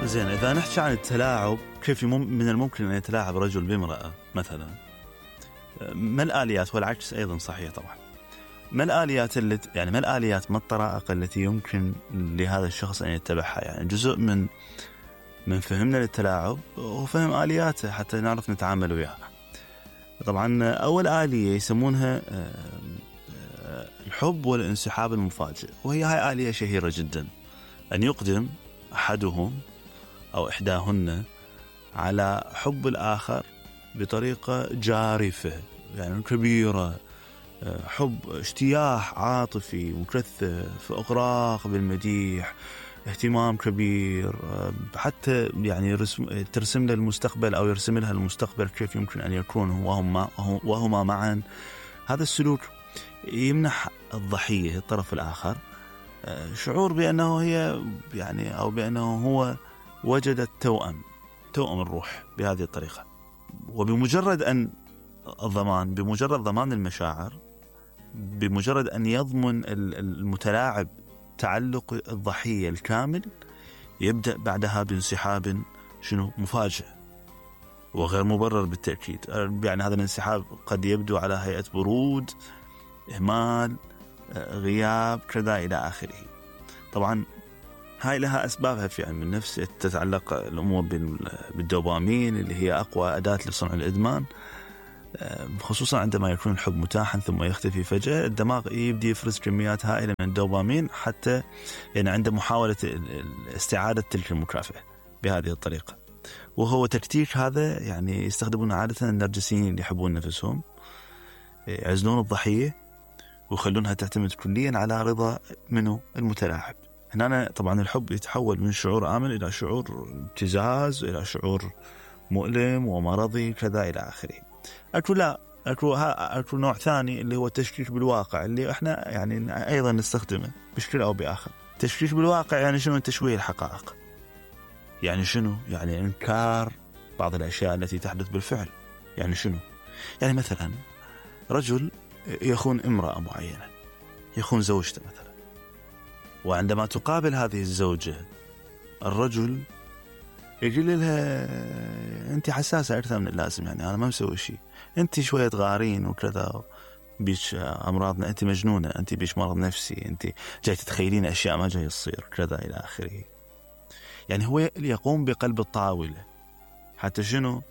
زين، إذا نحكي عن التلاعب، كيف من الممكن أن يتلاعب رجل بامرأة مثلا؟ ما الآليات؟ والعكس أيضا صحيح طبعا. ما الآليات ما الآليات، ما الطرائق التي يمكن لهذا الشخص أن يتبعها؟ يعني جزء من فهمنا للتلاعب وفهم آلياته حتى نعرف نتعامل وياها. طبعا أول آلية يسمونها الحب والانسحاب المفاجئ، وهي هاي آلية شهيرة جدا، أن يقدم أحدهم أو إحداهن على حب الآخر بطريقة جارفة، يعني كبيرة، حب، اشتياح عاطفي مكثف، إغراق بالمديح، اهتمام كبير، حتى يعني ترسم له المستقبل أو يرسم لها المستقبل كيف يمكن أن يكون وهما معا. هذا السلوك يمنح الضحية الطرف الآخر شعور بأنه هي يعني أو بأنه هو وجد توأم الروح بهذه الطريقة. وبمجرد أن بمجرد ضمان المشاعر، بمجرد أن يضمن المتلاعب تعلق الضحية الكامل، يبدأ بعدها بانسحاب مفاجئ وغير مبرر بالتأكيد. يعني هذا الانسحاب قد يبدو على هيئة برود، إهمال، غياب، كذا إلى آخره. طبعا هاي لها أسبابها في علم النفس، تتعلق الأمور بالدوبامين اللي هي أقوى أداة لصنع الإدمان، خصوصا عندما يكون الحب متاحا ثم يختفي فجأة. الدماغ يبدأ يفرز كميات هائلة من الدوبامين حتى يعني عند محاولة استعادة تلك المكافأة بهذه الطريقة. وهو تكتيك هذا يعني يستخدمون عادة النرجسيين اللي يحبون نفسهم، يعزلون الضحية ويخلونها تعتمد كليا على رضا منه المتلاعب. هنا طبعا الحب يتحول من شعور آمن إلى شعور ابتزاز، إلى شعور مؤلم ومرضي كذا إلى آخره. أكو نوع ثاني اللي هو التشكيك بالواقع، اللي احنا يعني أيضا نستخدمه بشكل أو بآخر. تشكيك بالواقع يعني شنو؟ تشويه الحقائق. يعني شنو؟ يعني إنكار بعض الأشياء التي تحدث بالفعل. يعني شنو؟ يعني مثلا رجل يخون امرأة معينة، يخون زوجته مثلا، وعندما تقابل هذه الزوجة الرجل يقول لها أنت حساسة أكثر من اللازم، يعني أنا ما مسوي شيء، أنت شوية غارين وكذا، بيش أمراضنا، أنت مجنونة، أنت بيش مرض نفسي، أنت جاي تتخيلين أشياء ما جاي تصير كذا إلى آخره. يعني هو يقوم بقلب الطاولة حتى شنو؟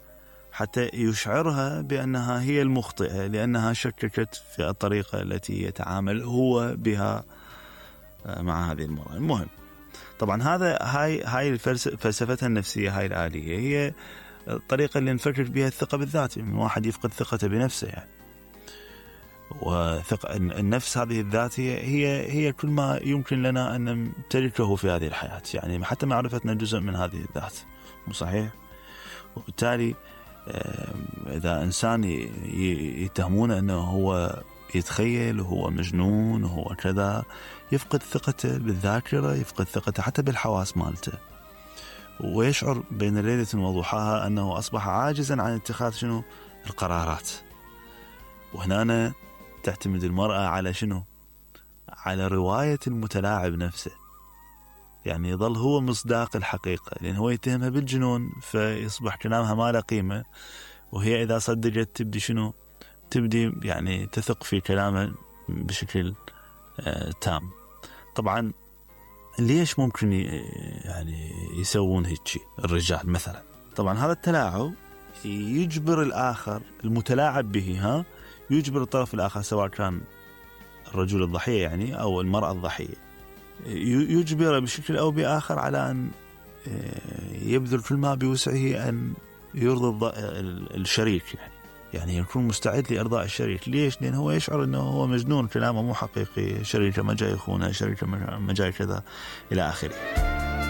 حتى يشعرها بأنها هي المخطئة، لأنها شككت في الطريقة التي يتعامل هو بها مع هذه المرأة. المهم طبعا هاي فلسفتها النفسية، هاي الآلية هي الطريقة اللي نفكر بها الثقة بالذات، من واحد يفقد ثقته بنفسه يعني. وثقة النفس هذه الذات هي كل ما يمكن لنا أن نمتلكه في هذه الحياة، يعني حتى معرفتنا جزء من هذه الذات، مو صحيح؟ وبالتالي إذا إنسان يتهمونه أنه هو يتخيل وهو مجنون وهو كذا، يفقد ثقته بالذاكرة، يفقد ثقته حتى بالحواس مالته، ويشعر بين ليلة وضحاها أنه أصبح عاجزا عن اتخاذ القرارات. وهنا تعتمد المرأة على على رواية المتلاعب نفسه، يعني يظل هو مصداق الحقيقة، لأن هو يتهمها بالجنون، فيصبح كلامها ما له قيمة، وهي إذا صدقت تبدي يعني تثق في كلامه بشكل تام. طبعا ليش ممكن يعني يسوون هيك الرجال مثلا؟ طبعا هذا التلاعب يجبر الآخر المتلاعب به، يجبر الطرف الآخر سواء كان الرجل الضحية يعني أو المرأة الضحية، يجبر بشكل أو بآخر على أن يبذل كل ما بوسعه أن يرضي الشريك، يعني يكون مستعد لإرضاء الشريك. ليش؟ لأنه هو يشعر أنه هو مجنون، كلامه مو حقيقي، شريكه ما جاي يخونه، شريكه ما جاي كذا إلى آخره.